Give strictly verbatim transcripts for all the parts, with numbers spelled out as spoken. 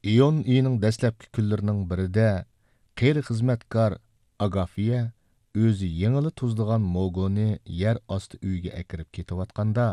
ئىيۇن ئېيىنىڭ دەسلەپكى كۈنلىرىنىڭ بىرىدە قېرى خىزمەتكار ئاگافىيە ئۆزى يېڭىلا تۇزلىغان موگونى يەر ئاستى ئۆيىگە ئەكىرىپ كېتىۋاتقاندا،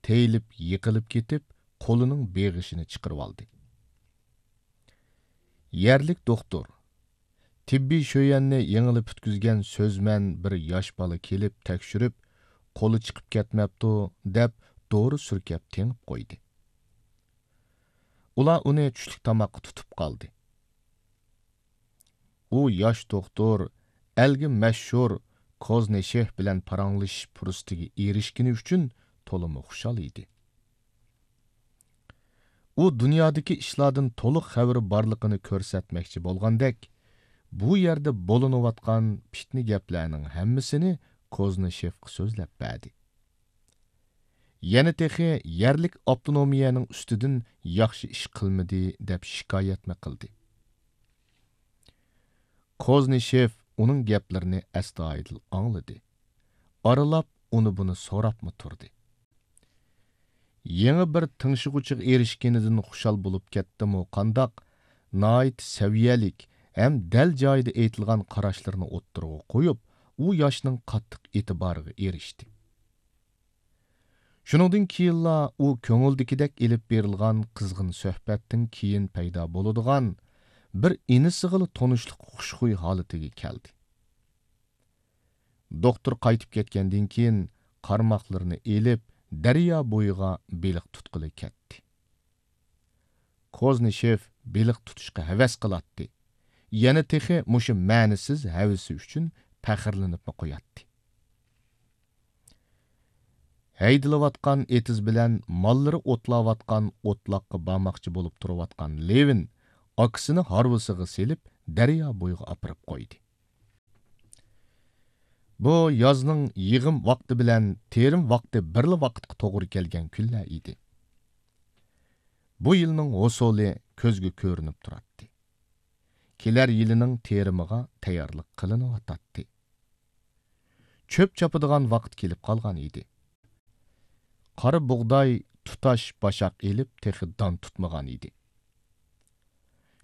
تېيىلىپ يىقىلىپ كېتىپ، قولىنىڭ بېغىشىنى چىقىرىۋالدى. يەرلىك دوختۇر، تېببىي شۆيەننى يېڭىلا پۈتكۈزگەن سۆزمەن بىر ياش بالا كېلىپ تەكشۈرۈپ، قولى چىقىپ كەتمەپتۇ، دەپ دورا سۈركەپ تېڭىپ قويدى. ئۇلار ئۇنى چۈشلۈك تاماققا تۇتۇپ قالدى. ئۇ ياش دوختۇر ئەلگە مەشھۇر كوزنىشېف بىلەن پاراڭلىشىش پۇرسىتىگە ئېرىشكىنى ئۈچۈن تولىمۇ خۇشال ئىدى. ئۇ دۇنيادىكى ئىشلاردىن تولۇق خەۋىرى بارلىقىنى كۆرسەتمەكچى بولغاندەك، بۇ يەردە بولۇنۇۋاتقان پىتنە گەپلەرنىڭ ھەممىسىنى كوزنىشېفقا سۆزلەپ بەردى. يەنە تېخى يەرلىك ئاپتونومىيەنىڭ ئۈستىدىن ياخشى ئىش قىلمىدى، دەپ شىكايەتمۇ قىلدى. كوزنىشېف ئۇنىڭ گەپلىرىنى ئەستايىدىل ئاڭلىدى. ئارىلاپ ئۇنى بۇنى سوراپمۇ تۇردى. يېڭى بىر تىڭشىغۇچىغا ئېرىشكىنىدىن خۇشال بولۇپ كەتتىمۇ قانداق، ناھايىتى سەۋىيەلىك ھەم دەل جايىدا ئېيتىلغان قاراشلىرىنى ئوتتۇرىغا قويۇپ، ئۇ ياشنىڭ قاتتىق ئېتىبارىغا ئېرىشتى. شۇنىڭدىن كېيىنلا ئۇ كۆڭۈلدىكىدەك ئېلىپ بېرىلغان قىزغىن سۆھبەتتىن كېيىن پەيدا بولىدىغان بىر ئىنىسىغىلا تونۇشلۇق خۇشخۇي ھالىتىگە كەلدى. دوختۇر قايتىپ كەتكەندىن كېيىن قارماقلىرىنى ئېلىپ، دەريا بويىغا بېلىق تۇتقىلى كەتتى. كوزنىشېف بېلىق تۇتۇشقا ھەۋەس قىلاتتى. يەنە تېخى مۇشۇ مەنىسىز ھەۋىسى ئۈچۈن پەخىرلىنىپمۇ قوياتتى. ھەيدىلىۋاتقان ئېتىز بىلەن ماللىرى ئوتلاۋاتقان ئوتلاققا بارماقچى بولۇپ تۇرۇۋاتقان لېۋىن ئاكىسىنى ھارۋىسىغا سېلىپ، دەريا بويىغا ئاپىرىپ قويدى. بۇ يازنىڭ يىغىم ۋاقتى بىلەن تېرىم ۋاقتى بىرلا ۋاقىتقا توغرا كەلگەن كۈنلەر ئىدى. بۇ يىلنىڭ ھوسۇلى كۆزگە كۆرۈنۈپ تۇراتتى. كېلەر يىلىنىڭ تېرىمىغا تەييارلىق قىلىنىۋاتاتتى. چۆپ چاپىدىغان ۋاقىت كېلىپ قالغان ئىدى. قارا بۇغداي تۇتاش باشاق ئېلىپ، تېخى دان تۇتمىغان ئىدى.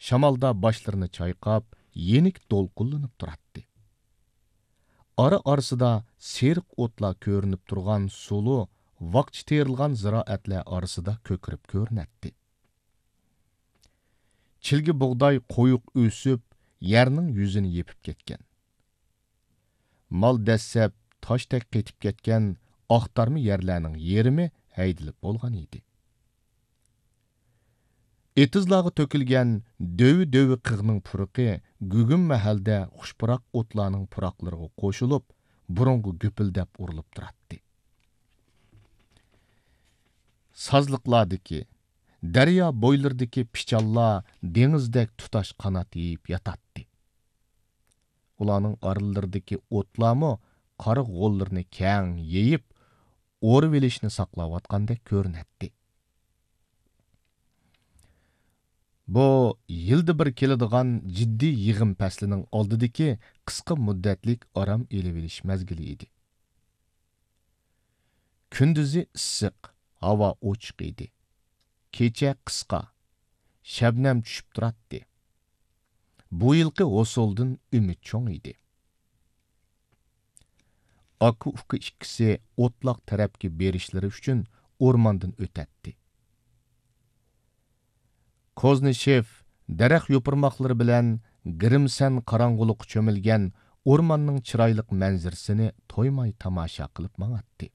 شامالدا باشلىرىنى چايقاپ، يېنىك دولقۇنلىنىپ تۇراتتى. ئارا-ئارىسىدا سېرىق ئوتلار كۆرۈنۈپ تۇرغان سۇلۇ ۋاقچە تېرىلغان زىرائەتلەر ئارىسىدا كۆكىرىپ كۆرۈنەتتى. چىلگە بۇغداي قويۇق ئۆسۈپ، يەرنىڭ يۈزىنى يېپىپ كەتكەن. مال دەسسەپ تاشتەك قېتىپ كەتكەن ئاختارما يەرلەرنىڭ يېرىمى ھەيدىلىپ بولغان ئىدى. ئېتىزلارغا تۆكۈلگەن دۆۋە-دۆۋە قىغنىڭ پۇرىقى گۈگۈم مەھەلدە خۇش پۇراق ئوتلارنىڭ پۇراقلىرىغا قوشۇلۇپ، بۇرۇنغا گۈپۈلدەپ ئۇرۇلۇپ تۇراتتى. سازلىقلاردىكى، دەريا بويلىرىدىكى پىچانلار دېڭىزدەك تۇتاش قانات يېيىپ ياتاتتى. ئۇلارنىڭ ئارىلىرىدىكى ئوتلارمۇ قارا غوللىرىنى كەڭ يېيىپ، ئورىۋېلىشنى ساقلاۋاتقاندەك كۆرۈنەتتى. بۇ يىلدا بىر كېلىدىغان جىددىي يىغىم پەسلىنىڭ ئالدىدىكى قىسقا مۇددەتلىك ئارام ئېلىۋېلىش مەزگىلى ئىدى. كۈندۈزى ئىسسىق، ھاۋا ئوچۇق ئىدى. كېچە قىسقا، شەبنەم چۈشۈپ تۇراتتى. بۇ يىلقى ھوسۇلدىن ئۈمىد چوڭ ئىدى. ئاكا-ئۇكا ئىككىسى ئوتلاق تەرەپكە بېرىشلىرى ئۈچۈن ئورماندىن ئۆتەتتى. كوزنىشېف دەرەخ يوپۇرماقلىرى بىلەن گىرىمسەن قاراڭغۇلۇققا چۆمۈلگەن ئورماننىڭ چىرايلىق مەنزىرىسىنى تويماي تاماشا قىلىپ ماڭاتتى.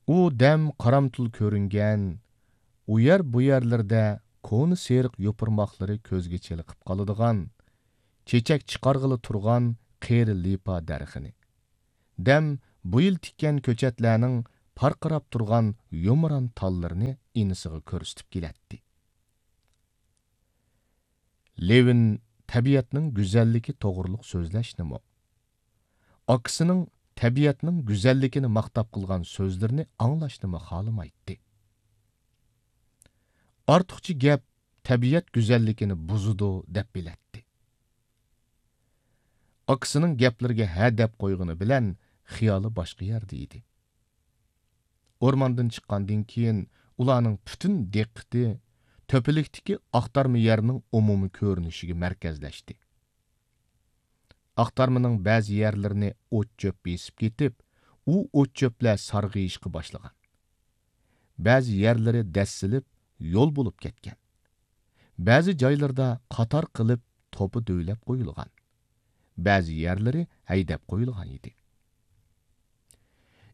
ئۇ دەم قارامتۇل كۆرۈنگەن، ئۇ يەر بۇ يەرلىرىدە كونا سېرىق يوپۇرماقلىرى كۆزگە چېلىقىپ قالىدىغان، چېچەك چىقارغىلى تۇرغان قېرى لىپا دەرىخىنى، دەم بۇ يىل تىككەن كۆچەتلەرنىڭ پارقىراپ تۇرغان يۇمران تاللىرىنى ئىنىسىغا كۆرسىتىپ كېلەتتى. لېۋىن تەبىئەتنىڭ گۈزەللىكى توغرۇلۇق سۆزلەشنىمۇ، ئاكىسىنىڭ تەبىئەتنىڭ گۈزەللىكىنى ماختاپ قىلغان سۆزلىرىنى ئاڭلاشنىمۇ خالىمايتتى. ئارتۇقچە گەپ تەبىئەت گۈزەللىكىنى بۇزىدۇ، دەپ بىلەتتى. ئاكىسىنىڭ گەپلىرىگە ھە دەپ قويغىنى بىلەن خىيالى باشقا يەردە ئىدى. ئورماندىن چىققاندىن كېيىن ئۇلارنىڭ پۈتۈن دىققىتى تۆپىلىكتىكى ئاختارما يەرنىڭ ئومۇمىي كۆرۈنۈشىگە مەركەزلەشتى. ئاختارمىنىڭ بەزى يەرلىرىنى ئوت-چۆپ بېسىپ كېتىپ، ئۇ ئوت-چۆپلەر سارغىيىشقا باشلىغان. بەزى يەرلىرى دەسسىلىپ، يول بولۇپ كەتكەن. بەزى جايلىرىدا قاتار قىلىپ توپا دۆۋىلەپ قويۇلغان. بەزى يەرلىرى ھەيدەپ قويۇلغان ئىدى.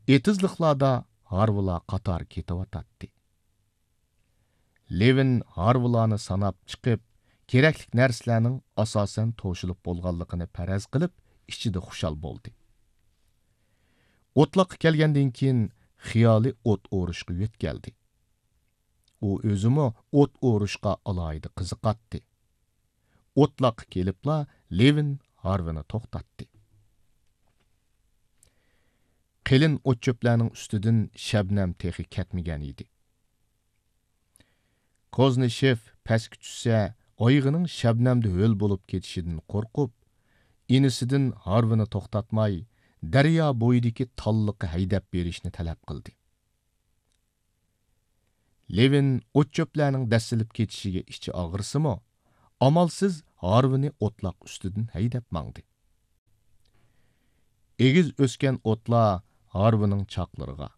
ئېتىزلىقلاردا ھارۋىلار قاتار كېتىۋاتاتتى. لېۋىن ھارۋىلارنى ساناپ چىقىپ، كېرەكلىك نەرسىلەرنىڭ ئاساسەن توشۇلۇپ بولغانلىقىنى پەرەز قىلىپ، ئىچىدە خۇشال بولدى. ئوتلاققا كەلگەندىن كېيىن، خىيالى ئوت ئورۇشقا يۆتكەلدى. ئۇ ئۆزىمۇ ئوت ئورۇشقا ئالاھىدە قىزىقاتتى. ئوتلاققا كېلىپلا، لېۋىن ھارۋىنى توختاتتى. قېلىن ئوت-چۆپلەرنىڭ ئۈستىدىن شەبنەم تېخى كەتمىگەن ئىدى. كوزنىشېف پەسكە چۈشسە، ئايىغىنىڭ شەبنەمدە ھۆل بولۇپ كېتىشىدىن قورقۇپ، ئىنىسىدىن ھارۋىنى توختاتماي، دەريا بويىدىكى تاللىققا ھەيدەپ بېرىشنى تەلەپ قىلدى. لېۋىن ئوت-چۆپلەرنىڭ دەسسىلىپ كېتىشىگە ئىچى ئاغرىسىمۇ، ئامالسىز ھارۋىنى ئوتلاق ئۈستىدىن ھەيدەپ ماڭدى. ئېگىز ئۆسكەن ئوتلار ھارۋىنىڭ چاقلىرىغا،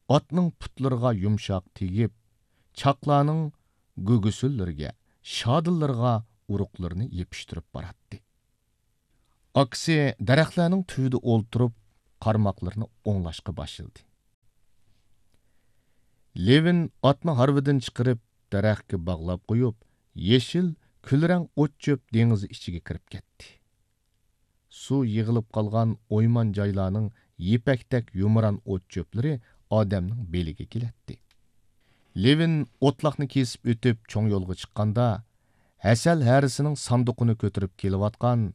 ئاتنىڭ پۇتلىرىغا يۇمشاق تېگىپ، چاقلارنىڭ گۈگىسىنلىرىگە، شادىلىرىغا ئۇرۇقلىرىنى يېپىشتۇرۇپ باراتتى. ئاكىسى دەرەخلەرنىڭ تۈۋىدە ئولتۇرۇپ، قارماقلىرىنى ئوڭلاشقا باشلىدى. لېۋىن ئاتنى ھارۋىدىن چىقىرىپ، دەرەخكە باغلاپ قويۇپ، يېشىل، كۈلرەڭ ئوت-چۆپ دېڭىزى ئىچىگە كىرىپ كەتتى. سۇ يىغىلىپ قالغان ئويمان جايلارنىڭ يىپەكتەك يۇمران ئوت-چۆپلىرى ئادەمنىڭ بېلىگە كېلەتتى. لېۋىن ئوتلاقنى كېسىپ ئۆتۈپ، چوڭ يولغا چىققاندا، ھەسەل ھەرىسىنىڭ ساندۇقىنى كۆتۈرۈپ كېلىۋاتقان،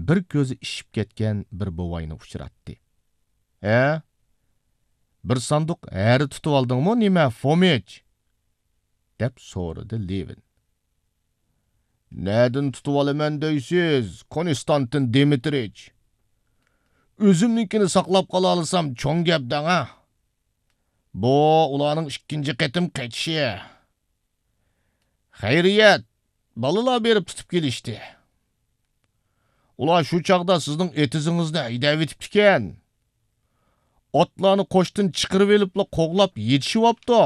بىر كۆزى ئىششىپ كەتكەن بىر بوۋاينى ئۇچراتتى. «ھە؟ بىر ساندۇق ھەرە تۇتۇۋالدىڭمۇ نېمە، فومىچ؟» دەپ سورىدى لېۋىن. «نەدىن تۇتۇۋالىمەن دەيسىز، كونستانتىن دىمىترىچ؟ ئۆزۈمنىڭكىنى ساقلاپ قالالىسام، چوڭ گەپ دەڭا. بۇ ئۇلارنىڭ ئىككىنچى قېتىم قېچىشى. خەيرىيەت، بالىلار بېرىپ تۇتۇپ كېلىشتى. ئۇلار شۇ چاغدا سىزنىڭ ئېتىزىڭىزنى ھەيدەۋېتىپتىكەن. ئاتلارنى قوشتىن چىقىرىۋېلىپلا قوغلاپ يېتىشىۋاپتۇ.»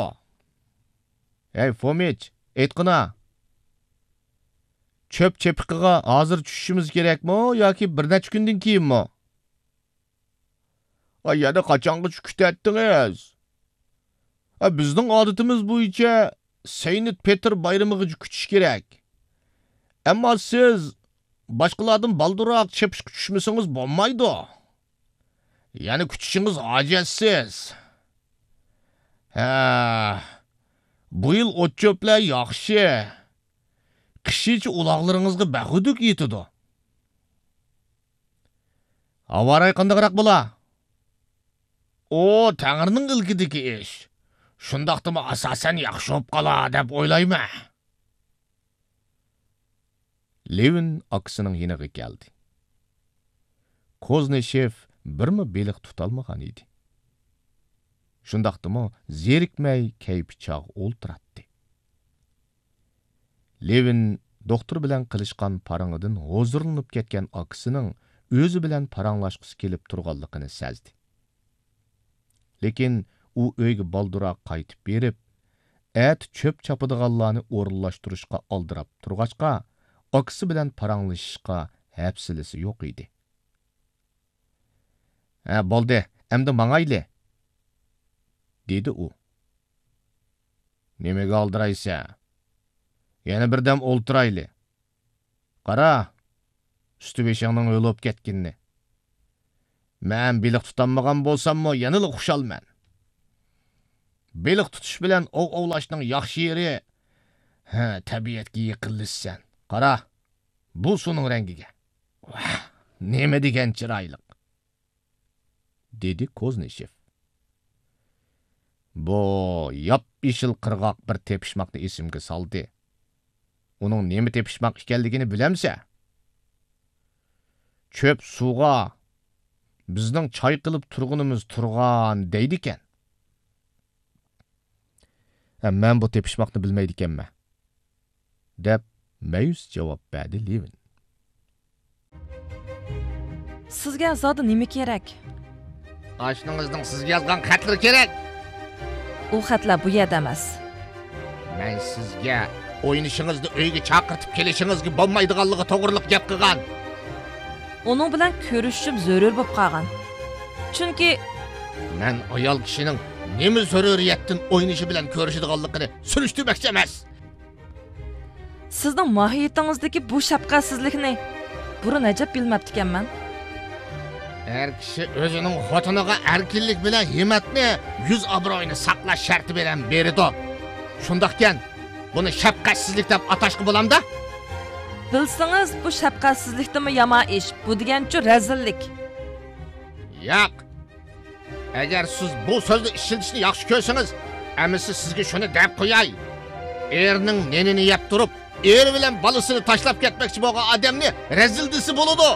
«ھەي، فومىچ، ئېيتقىنا، چۆپ چېپىقىغا ھازىر چۈشۈشىمىز كېرەكمۇ ياكى بىر نەچچە كۈندىن كېيىنمۇ؟» «ئا، يەنە قاچانغىچە كۈتەتتىڭىز؟ ئا، بىزنىڭ ئادىتىمىز بويىچە سەينت پېتىر بايرىمىغىچە كۈتۈش كېرەك. ئەمما سىز باشقىلاردىن بالدۇرراق چېپىشقا چۈشمىسىڭىز بولمايدۇ. يەنە كۈتۈشىڭىز ھاجەتسىز. ھە، بۇ يىل ئوت-چۆپلەر ياخشى. قىشىچە ئۇلاغلىرىڭىزغا بەخۈدۈك يېتىدۇ.» «ھاۋا رايى قانداقراق بولا؟» «ئۇ تەڭرىنىڭ ئىلكىدىكى ئىش. شۇنداقتىمۇ ئاساسەن ياخشى بولۇپ قالا دەپ ئويلايمەن.» لېۋىن ئاكىسىنىڭ يېنىغا كەلدى. كوزنىشېف بىرمۇ بېلىق تۇتالمىغان ئىدى. شۇنداقتىمۇ زېرىكمەي كەيپى چاغ ئولتۇراتتى. لېۋىن دوختۇر بىلەن قىلىشقان پاراڭىدىن ھۇزۇرلىنىپ كەتكەن ئاكىسىنىڭ ئۆزى بىلەن پاراڭلاشقۇسى كېلىپ تۇرغانلىقىنى سەزدى. لېكىن ئۇ ئۆيگە بالدۇرراق قايتىپ بېرىپ، ئەتە چۆپ چاپىدىغانلارنى ئورۇنلاشتۇرۇشقا ئالدىراپ تۇرغاچقا، ئاكىسى بىلەن پاراڭلىشىشقا ھەپسىلىسى يوق ئىدى. «ھە، بولدى، ئەمدى ماڭايلى.» دېدى ئۇ. «نېمىگە ئالدىرايسەن؟ يەنە بىردەم ئولتۇرايلى. قارا، ئۈستى-بېشىڭنىڭ ھۆل بولۇپ كەتكىنىنى. مەن بېلىق تۇتالمىغان بولساممۇ يەنىلا خۇشالمەن. بېلىق تۇتۇش بىلەن ئوۋ ئوۋلاشنىڭ ياخشى يېرى، ھە، تەبىئەتكە يېقىنلىشىسەن. قارا، بۇ سۇنىڭ رەڭگىگە. ۋاھ، نېمە دېگەن چىرايلىق!» دېدى كوزنىشېف. بۇ ياپيېشىل قىرغاق بىر تېپىشماقنى ئېسىمگە سالدى. ئۇنىڭ نېمە تېپىشماق ئىكەنلىكىنى بىلەمسەن؟ چۆپ سۇغا بىزنىڭ چايقىلىپ تۇرغىنىمىز تۇرغان دەيدىكەن. ھە، مەن بۇ تېپىشماقنى بىلمەيدىكەنمەن. دەپ مەيۈس جاۋاب بەردى لېۋىن. سىزگە زادى نېمە كېرەك؟ ئاشنىڭىزنىڭ سىزگە يازغان خەتلىرى كېرەك. ئۇ خەتلەر بۇ يەردە ئەمەس. مەن سىزگە ئوينىشىڭىزنى ئۆيگە چاقىرتىپ كېلىشىڭىزگە بولمايدىغانلىقى توغرىلىق گەپ قىلغان. ئۇنىڭ بىلەن كۆرۈشۈشۈم زۆرۈر بولۇپ قالغان. چۈنكى مەن ئايال كىشىنىڭ نېمە زۆرۈرىيەتتىن ئوينىشى بىلەن كۆرۈشىدىغانلىقىنى سۈرۈشتۈرمەكچى ئەمەس. سىزنىڭ ماھىيىتىڭىزدىكى بۇ شەپقەتسىزلىكنى بۇرۇن ئەجەب بىلمەپتىكەنمەن. ئەر كىشى ئۆزىنىڭ خوتۇنىغا ئەركىنلىك بىلەن ھىممەتنى، يۈز ئابرۇيىنى ساقلاش شەرتى بىلەن بېرىدۇ. شۇنداقكەن، بۇنى شەپقەتسىزلىك دەپ ئاتاشقا بولامدا؟ بىلسىڭىز، بۇ شەپقەتسىزلىكتىنمۇ يامان ئىش، بۇ دېگەنچۇ رەزىللىك. ياق. ئەگەر سىز بۇ سۆزنى ئىشلىتىشنى ياخشى كۆرسىڭىز، ئەمىسە سىزگە شۇنى دەپ قوياي. ئېرىنىڭ نېنىنى يەپ تۇرۇپ، ئېرى بىلەن بالىسىنى تاشلاپ كەتمەكچى بولغان ئادەمنى رەزىل دېسە بولىدۇ.